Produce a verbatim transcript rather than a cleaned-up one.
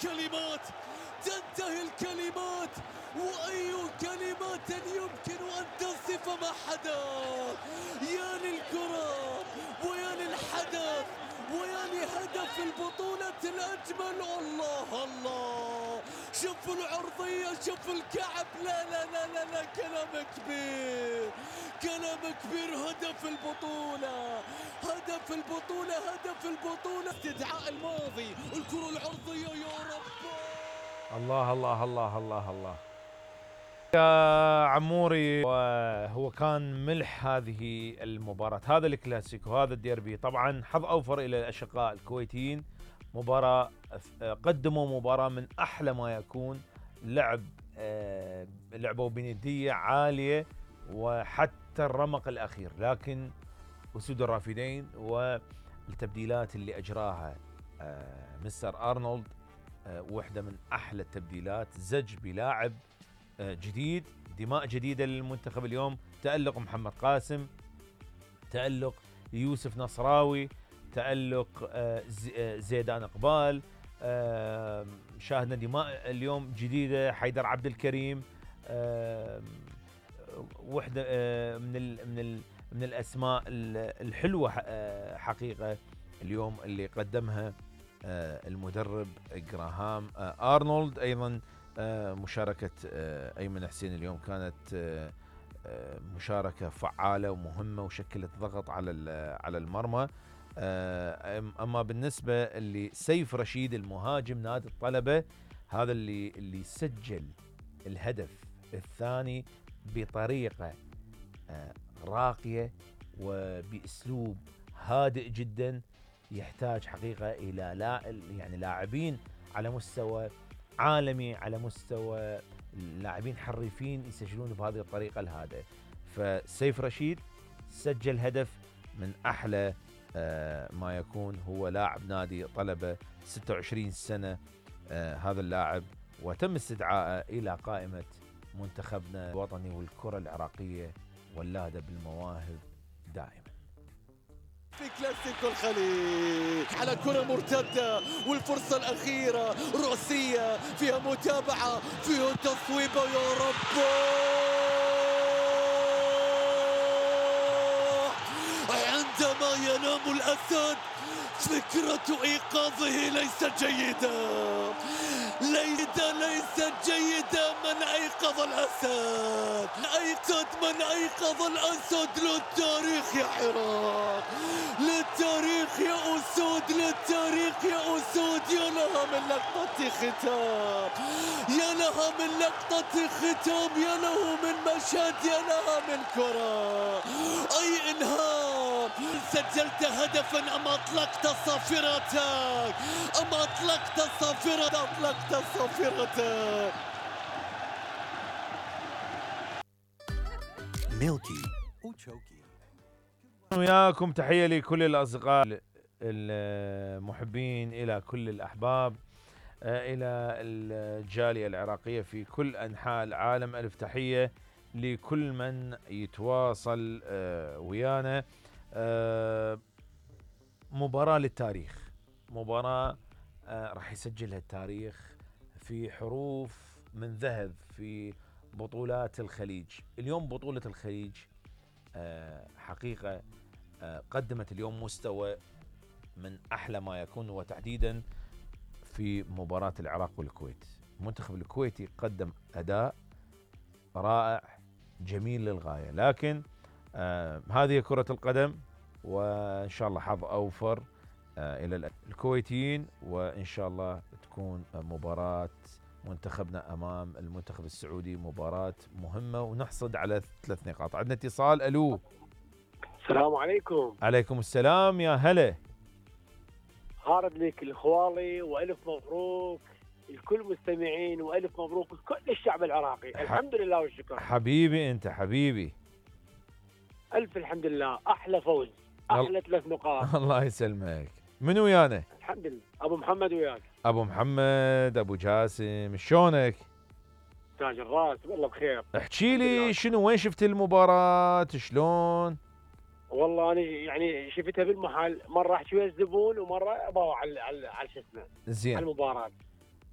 كلمات، تنتهي الكلمات، وأي كلمات يمكن أن تصف ما حدث. يا للكرة ويا للحدث ويا لهدف البطولة الأجمل. الله الله، شوفوا العرضية، شوفوا الكعب. لا لا لا لا, لا. كلام كبير، كلام كبير. هدف البطولة، هدف البطولة، هدف البطولة. استدعاء الماضي، الكرة العرضية. يا رب، الله الله الله الله الله يا عموري. وهو كان ملح هذه المباراة، هذا الكلاسيكو، هذا الديربي. طبعا حظ أوفر إلى الأشقاء الكويتيين، مباراة قدموا مباراة من أحلى ما يكون. لعب لعبوا بندية عالية وحتى الرمق الأخير، لكن أسود الرافدين والتبديلات اللي أجراها مستر أرنولد واحدة من أحلى التبديلات. زج بلاعب جديد، دماء جديدة للمنتخب اليوم. تألق محمد قاسم، تألق يوسف نصراوي، تألق زيدان إقبال. شاهدنا دماء اليوم جديدة، حيدر عبد الكريم. وحدة من ال من ال من الأسماء الحلوة حقيقة اليوم اللي قدمها المدرب جراهام أرنولد. أيضا مشاركة أيمن حسين اليوم كانت مشاركة فعالة ومهمة، وشكلت ضغط على على المرمى. أما بالنسبة لسيف رشيد المهاجم نادي الطلبة، هذا اللي اللي سجل الهدف الثاني بطريقة راقية وبأسلوب هادئ جدا، يحتاج حقيقة إلى لا يعني لاعبين على مستوى عالمي، على مستوى لاعبين حريفين يسجلون بهذه الطريقة الهادئة. فسيف رشيد سجل هدف من أحلى ما يكون. هو لاعب نادي طلبة، ستة وعشرين سنة هذا اللاعب، وتم استدعائه إلى قائمة منتخبنا الوطني والكرة العراقية واللادة بالمواهب دائما. في كلاسيكو الخليج على كرة مرتدة، والفرصة الأخيرة رأسية فيها متابعة، فيها تصويبة. يا رب، عندما ينام الأسد فكرة إيقاظه ليست جيدة، ليست ليست جيدة. من أيقظ الأسد؟ أيقظ من أيقظ الأسد. للتاريخ يا حراك، للتاريخ يا أسود، للتاريخ يا أسود. يا لها من لقطة ختام، يا لها من لقطة ختام، يا له من مشهد، يا لها من كرة. أي إنهاء! سجلت هدفا أم أطلقت صافرتك، أم أطلقت صافرتك، أطلقت صافرتك. ميلكي وتشوكي. وياكم تحية لكل الأصدقاء المحبين، إلى كل الأحباب، إلى الجالية العراقية في كل أنحاء العالم. ألف تحية لكل من يتواصل ويانا. مباراة للتاريخ، مباراة راح يسجلها التاريخ في حروف من ذهب في بطولات الخليج. اليوم بطولة الخليج حقيقة قدمت اليوم مستوى من أحلى ما يكون، وتحديدا في مباراة العراق والكويت. المنتخب الكويتي قدم أداء رائع جميل للغاية، لكن آه هذه كرة القدم، وإن شاء الله حظ أوفر آه إلى الكويتيين، وإن شاء الله تكون مباراة منتخبنا أمام المنتخب السعودي مباراة مهمة، ونحصد على ثلاث نقاط. عندنا اتصال. ألو، السلام عليكم. عليكم السلام، يا هلا. هارد لك الخوالي، وألف مبروك الكل مستمعين، وألف مبروك لكل الشعب العراقي. ح... الحمد لله والشكر. حبيبي أنت حبيبي. ألف الحمد لله، أحلى فوز، أحلى ثلاث نقاط. الله يسلمك. من ويانا؟ الحمد لله. أبو محمد وياك. أبو محمد، أبو جاسم، شلونك؟ تاج الراس، والله بخير. احكي لي شنو، وين شفت المباراة، شلون؟ والله أنا يعني شفتها بالمحل، مرة أحكي ويا الزبون ومرة أبغى على على على شو اسمه، زين. على المباراة.